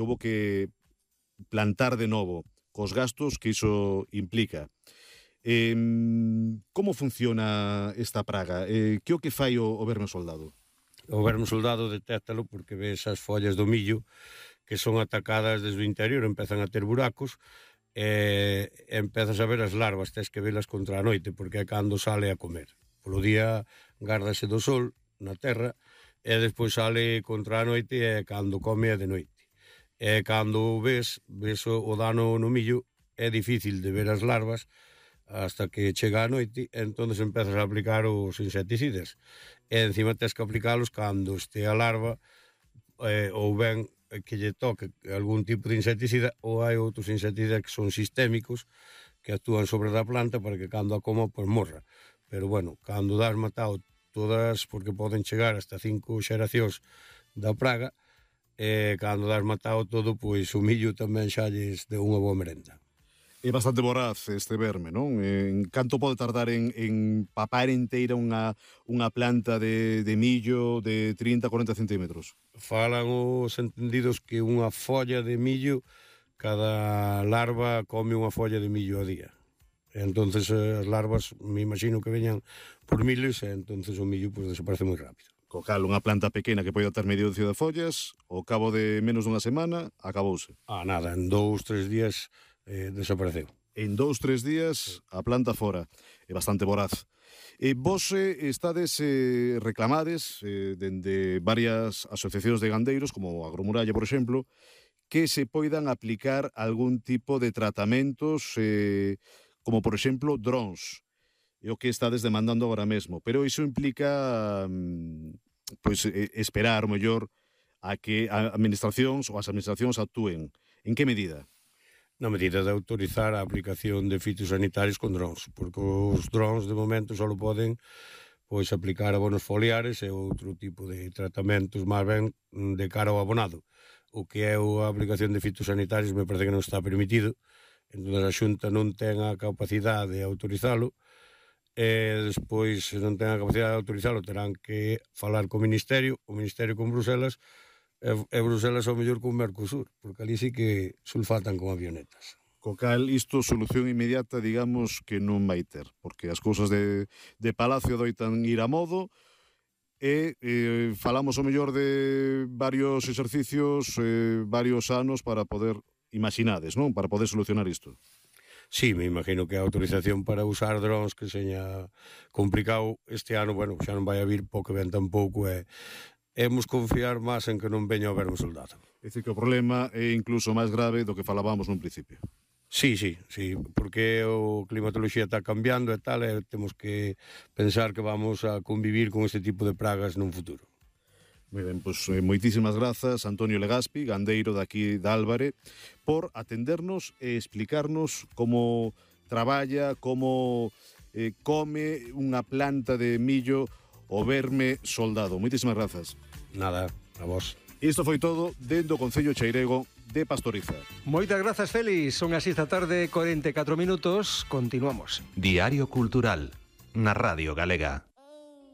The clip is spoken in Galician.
houbo que plantar de novo, cos gastos que iso implica. Como funciona esta praga? Que o que fai o verme soldado? O verme soldado detéctalo porque ves as follas do millo que son atacadas desde o interior, empezan a ter buracos, e empezas a ver as larvas, tens que velas contra a noite, porque é cando sale a comer. Polo día gárdase do sol na terra, e despois sale contra a noite, e cando come é de noite. E cando ves o dano no millo, é difícil de ver as larvas, hasta que chega a noite, entonces empezas a aplicar os insecticidas. E encima tens que aplicalos cando este a larva, ou ben que lle toque algún tipo de insecticida, ou hai outros insecticidas que son sistémicos, que actúan sobre a planta para que cando a coma, pois morra. Pero bueno, cando das matado todas, porque poden chegar hasta 5 xeracións da praga, e cando das matado todo, pois o millo tamén xa lles deu unha boa merenda. É bastante voraz este verme, non? Canto pode tardar en papar inteira unha planta de millo de 30-40 centímetros? Falan os entendidos que unha folla de millo, cada larva come unha folla de millo a día. Entonces as larvas, me imagino que veñan por miles, e entonces o millo pues, desaparece moi rápido. Co cal, unha planta pequena que pode ter medio docio de follas, ao cabo de menos dunha semana, acabouse. Nada, en 2-3 días desapareceu. En 2-3 días a planta fora. É bastante voraz. Vos estades reclamades dende varias asociacións de gandeiros, como Agromuralla, por exemplo, que se poidan aplicar algún tipo de tratamentos, como por exemplo drons. É o que estades demandando agora mesmo. Pero iso implica pois, esperar, o mellor, a que as administracións actúen. En que medida? Na medida de autorizar a aplicación de fitosanitarios con drons, porque os drons de momento só poden pois aplicar abonos foliares e outro tipo de tratamentos máis ben de cara ao abonado. O que é a aplicación de fitosanitarios me parece que non está permitido, entón a Xunta non ten a capacidade de autorizalo, e despois, se non ten a capacidade de autorizalo, terán que falar co Ministerio, o Ministerio con Bruselas, e Bruselas ao mellor con Mercosur, porque ali sí que sulfatan con avionetas. Co cal, isto solución inmediata, digamos, que non vai ter, porque as cousas de Palacio doitan ir a modo, e falamos ao mellor de varios exercicios, varios anos para poder, imaginades, non? Para poder solucionar isto. Sí, me imagino que a autorización para usar drones que seña complicado este ano, bueno, xa non vai a vir pouco ben tampouco, hemos confiar máis en que non veña o verme soldado. É dicir, que o problema é incluso máis grave do que falábamos nun principio. Sí, porque o climatoloxía está cambiando e tal, e temos que pensar que vamos a convivir con este tipo de pragas nun futuro. Moi ben, pois moitísimas grazas, Antonio Legaspi, gandeiro daqui de Álvare, por atendernos e explicarnos como traballa, como come unha planta de millo o verme soldado. Moitísimas grazas. Nada, a vos. Isto foi todo dentro do Concello Cheirego de Pastoriza. Moitas grazas, Félix. Son as 6 da tarde, 44 minutos. Continuamos. Diario Cultural, na Radio Galega.